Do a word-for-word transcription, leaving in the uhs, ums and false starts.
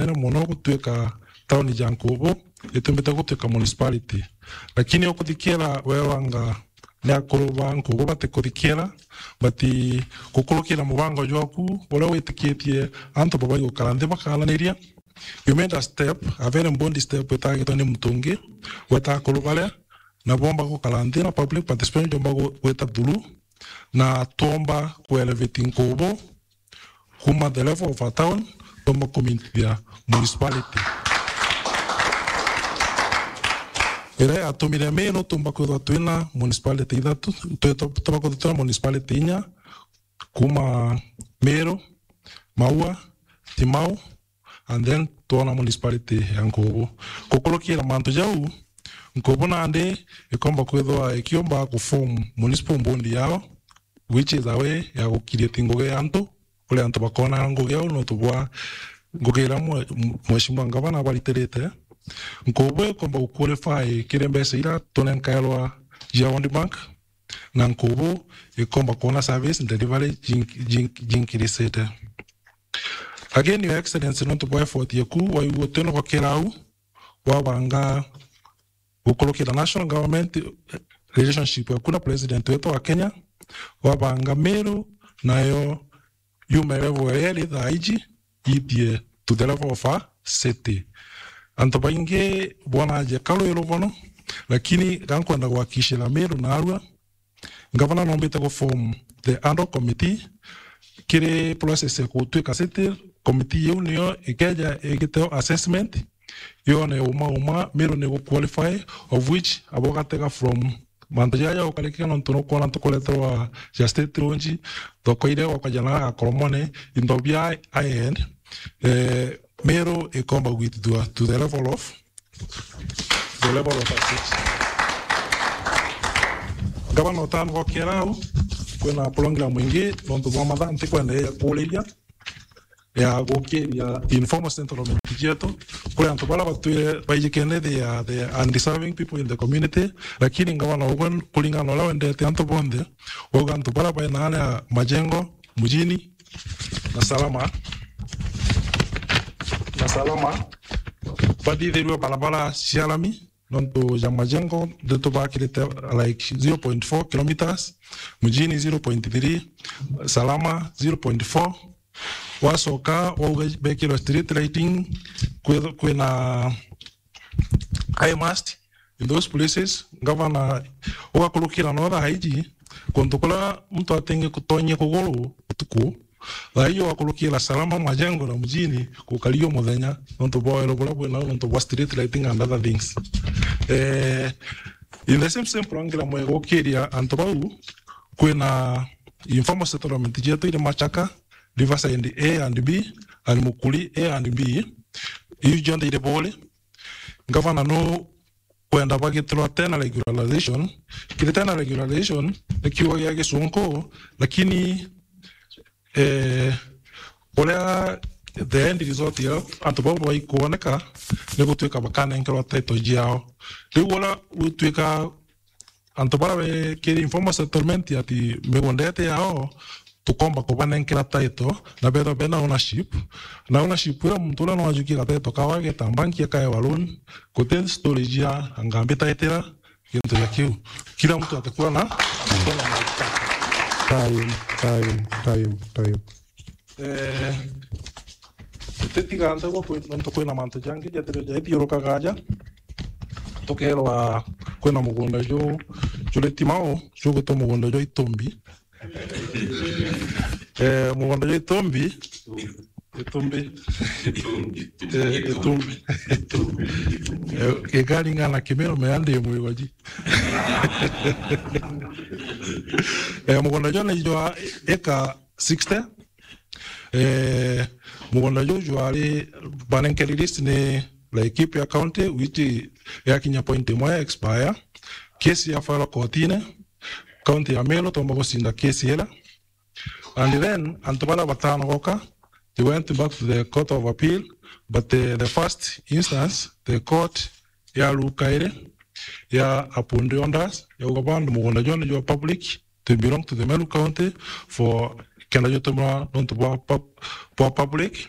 nene mono gutuika tauni ja Nkubu, itumbite gutuika municipality. Lakini ukuthikiira weerwa anga ni akuru ba Nkubu batikuthikira, bati gukurukira mubango jwaku uria witikitie antu babai gukara nthi bakaaraniria. You made a step, a very bold step, itagitwe ni muntu ungi, gweta akuru baria na bomba gukara nthi na public participation jomba gu-, gwita through, na twomba ku elevate Nkubu kuma the level of a town, twomba kumintithia municipality. Iria yatumire Meru tumba kwithwa twina municipality ithatu, twe-, tu-, tumba kwithwa twina municipality inya, kuma Meru, Maua, Timau, and then twona municipality ya Nkubu. Gukurukira mantu jau, Nkubu nandi ikomba kwithwa ikiumba ku form municipal board yao, which is a way ya gukiriatia ngugi ya antu, uria antu bakona ngugi au nontu bwa ngugi iria mwe-, mheshimiwa ngavana abaritirite. Nkubu ikomba gu qualify kiri mbeca iria tunenkairwa cia World Bank, na Nkubu ikomba kwona service delivery jink-, jink-, jinkirisite. Again, Your Excellency, nontu bwa effort yaku, waigua twina gukira au, wabanga gukurukira national government, eh, relationship yaku na president wetu wa Kenya, wabanga Meru nayo yume level iria iri thaa iji, ithie to the level of a city. Antu baingi bonagia ka rwi rubono, lakini ga nkwenda gwakishira Meru narua, ngavana nombite gu form the ad hoc committee kiri process ya gutwika city. Committee iu niyo ikeja igiteo assessment, yone uma uma Meru ni gu qualify, of which abo gatega from mantu jaja ukarikira nontu nukwona ntukureterwa ja state launch, thoko iria gwakwa jana gakoromone, into bia high end, eh, Meru ikomba gwitithua to the level of, the level of a city. Ngavana, utanogokera au, kwina program ingi nontu bwa mathaa ntikwenda ya kuriria, ya gukiria informal settlement cietu, kuri antu baria batwire baijikene, they are the undeserving people in the community, lakini ngavana ugwe kuringana na uria wendete antu bonthe, wauga antu baria baina aria Majengo, Mujini, na Salama, na Salama, bathithirue barabara cia lami, nontu ja Majengo, ndeto bakirite, like, zero point four kilometers, Mujini zero point three, Salama zero point four. Wacoka, wauga bekirwe street lighting, kwi-, kwina high mast in those places. Ngavana, ugakurukira no thaa iji, kuntu kuria muntu atingi kutonyia kuguru utuku, thaa iji ugakurukira Salama, Majengo na Mujini, gukaria muthenya, nontu bwa wero buria bwinau, nontu bwa street lighting and other things. Eh, in the same, same program, mwegukiria antu bau, kwina informal settlement cietu iri Machaka, Riverside A and B, and Mukuri A and B, iu jonthe iri Buuri. Ngavana nu kwenda bagitirwa tena regularization. Kiri tena regularization ni kiugo gia Gisunku, lakini, eh, uria the end result ya antu bau baikuoneka ni gutwika bakanenkerwa title ciao. Riu uria gutwika antu baria bekiri informal settlement ati migunda iti yao, tukomba kubanenkera title na bethwa bena ownership. Na ownership iria muntu uria no ajukie gatitle kawe ageta banki akaewa loan, guti story cia anga mbitaitira gintu gia kiu. Kila mtu atakuwa na, atakuwa na mahitaji. Time, time, time, time. Eh, tutiga nthagwa kwi, nontu kwina mantu jangi jathiru jaithiurukaga aja. Tukerwa kwina mugunda ju, juri Timau, jugwitwa mugunda jwa Itumbi. Eh, mugunda jwa Itumbi. Itumbi. Eh, Itumbi. Eh, gikaringana na Kimiru, meandi mwigoji. Eh, mugunda jwa ni jwa eka sixty. Eh, mugunda juu jwari banenkeri list ni Laikipia County, which yakinya point imwe ya expire. Case ya file kotine, County ya Meru tomba gucinda case ira. And then, antu baria batanogoka, they went back to the Court of Appeal, but the, the first instance, the court ya rukaire ya uphold orders, yauga bandu mugunda juu ni jwa public, they belong to the Meru County for kenda jutumwa nontu bwa pub-, bwa public.